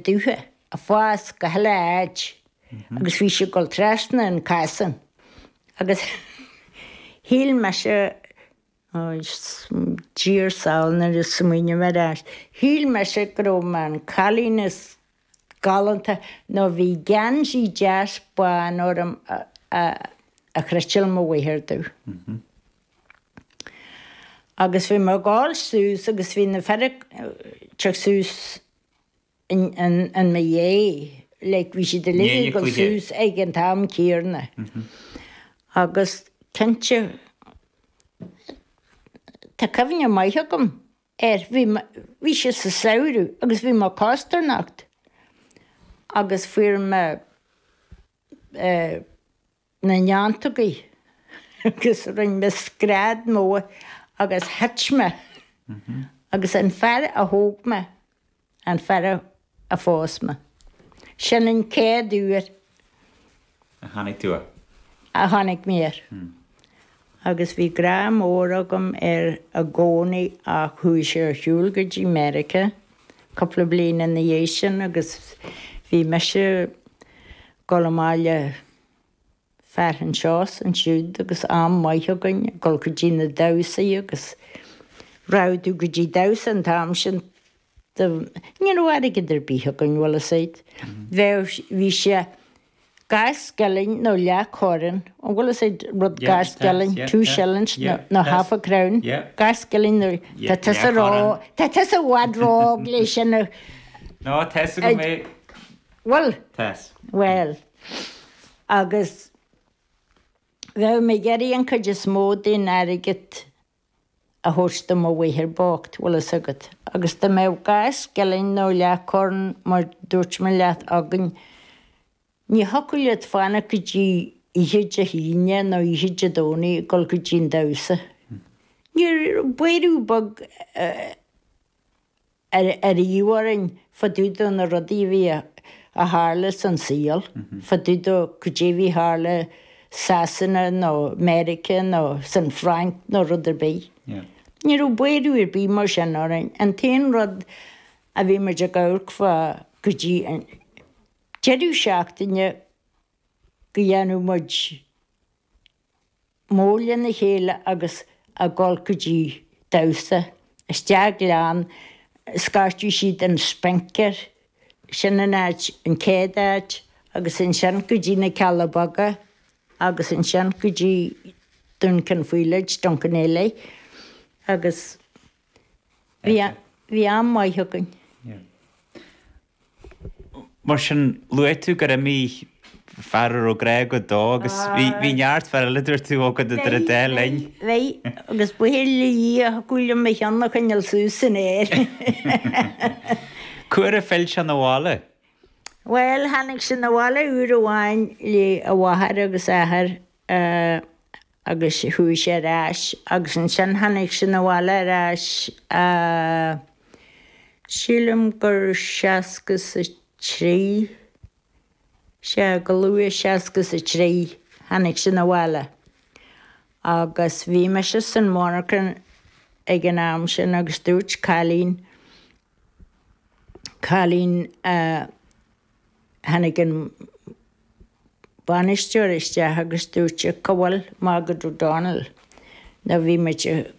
dubha ag fás go huile áit agus bhí sé ag dul trasna an casán agus shíl mise, Dia ár sábháil nuair a smaoiním ar ais, shíl mise go raibh mé an cailín is galánta nó bhí geansaí deas bán orm a chniotáil mo mháthair domh. Agus bhí mé ag gabháil suas agus bhí na fir ag teacht suas in mo dhiaidh, like bhí siad uilig ag dul suas ag an t-am céanna. Agus cinnte, tá cuimhne maith agam air, bhí, bhí sé sa samhradh agus bhí mé ag costarnocht agus fuair mé eh, na neantógaí agus rinne mé scread mór agus thit mé agus an fear a thóg mé an fear a phós mé. Sin an chéad uair. A tháinig tú air. A tháinig mé air. Agus bhí grá mór agam air i gcónaí ach chuaigh sé ar shiúl go dtí Meiriceá cúpla bliain ina dhiaidh sin agus bhí mise ag dul amach le fear anseo is ansiúd agus am maith againn ag dul go dtí na damhsaí agus raghadh tú go dtí damhsa an t-am sin do ní raibh airgead ar bith againn bhfuil fhios a'd. Bheadh bhí sé dhá scilling nó leath corn an bhfuil fhios a'd rud dhá scilling two shillings nó half a crown dhá scilling nó tá tusa ró tá tusa i bhfad ró-óg le sin a No tá fhios agam é. Bhfuil? Tá fhios. Bhuel, agus bheadh mé ag iarraidh an chuid is mó den airgead a thabhairt do mo mháthair bocht, bhfuil fhios agat. Agus dá mbeadh dhá scilling nó leathchorn, mar dúirt mé leat, againn, ní thiocfadh leat fanacht go dtí oíche Dé hAoine nó oíche Dé Domhnaigh ag dul go dtí an damhsa. Ní raibh buaireamh beag ariamh orainn fá dtaobh de na rudaí a bhí a tharla san saol, fá dtaobh de cad é a bhí tharla Sasana nó Meiriceá nó san Fhrainc nó rud ar bith. Ní raibh buaireamh ar bith mar sin orainn. An t-aon rud a bhí muid ag amharc fá go dtí an deireadh seachtaine go dhéanadh muid mór lena chéile agus a dhul go dtí damhsa, isteach gleann, scairteadh siad an Spinc air, sin an áit, an chéad áit, agus ansin go dtí na Cealla Beaga agus ansin go dtí Dún Chionn Faoileid, Dunquin agus bhí, bhí am maith againn. Mar sin, luaigh tú gur imigh fear a raibh grá agat dó agus bhí neart fear eile, dúirt tú, agat idir an dá linn. Bhí, agus buíochas le Dia thiocfadh liom mo cheann a choinneáil suas san aer. Cá huair a phill sé 'na bhaile? Bhuel, tháinig sé 'na bhaile uair amháin le a mháthair agus a athair agus chuaigh sé ar ais agus ansin tháinig sé 'na bhaile ar ais sílim gur 63, sea go luath 63 tháinig sé 'na bhaile agus bhí mise san monarchan ag an am sin agus dúirt cailín, cailín a tháinig an bainisteoir isteach agus dúirt sé cá bhfuil Margaret O'Donnell nó bhí muid ag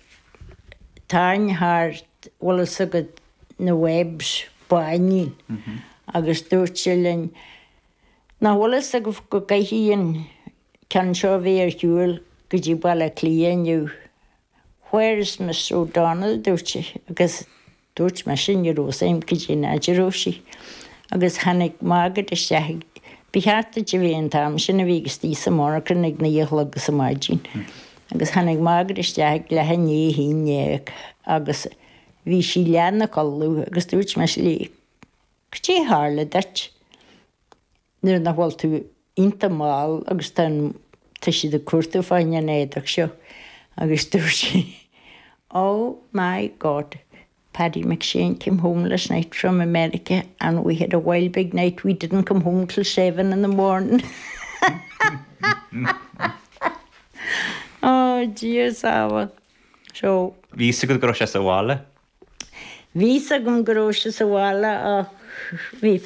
tarraingt thart bhfuil fhios agat na Webbs báinín agus dúirt sé linn nach bhfuil fhios agaibh go gcaithfidh an ceann seo a bheith ar shiúl go dtí Baile Átha Cliath inniu. Where is Miss O'Donnell dúirt sé agus Dúirt mise ní raibh fhios a'm cad é an áit a raibh sí. Agus tháinig Margaret isteach ag, ba cheart duit a bheith an t-am sin a bhí istigh sa monarchan ag 9 a chlog sa maidin. Agus tháinig Margaret isteach ag leath i ndiaidh a haon dhéag agus bhí sí leath 'na codladh agus dúirt mise léi, cad é a tharla duit? Nuair nach bhfuil tú iontach mall agus tá an, tá siad ag cuartú fá choinne an éadach seo agus dúirt sí Oh my God, Paddy McShane came home last night from America and we had a wild big night, we didn't come home till seven in the morning. Oh, Dia sábháil. So. Bhí fhios agat go raibh sé sa bhaile? Bhí fhios agam go raibh sé sa bhaile ach bhí.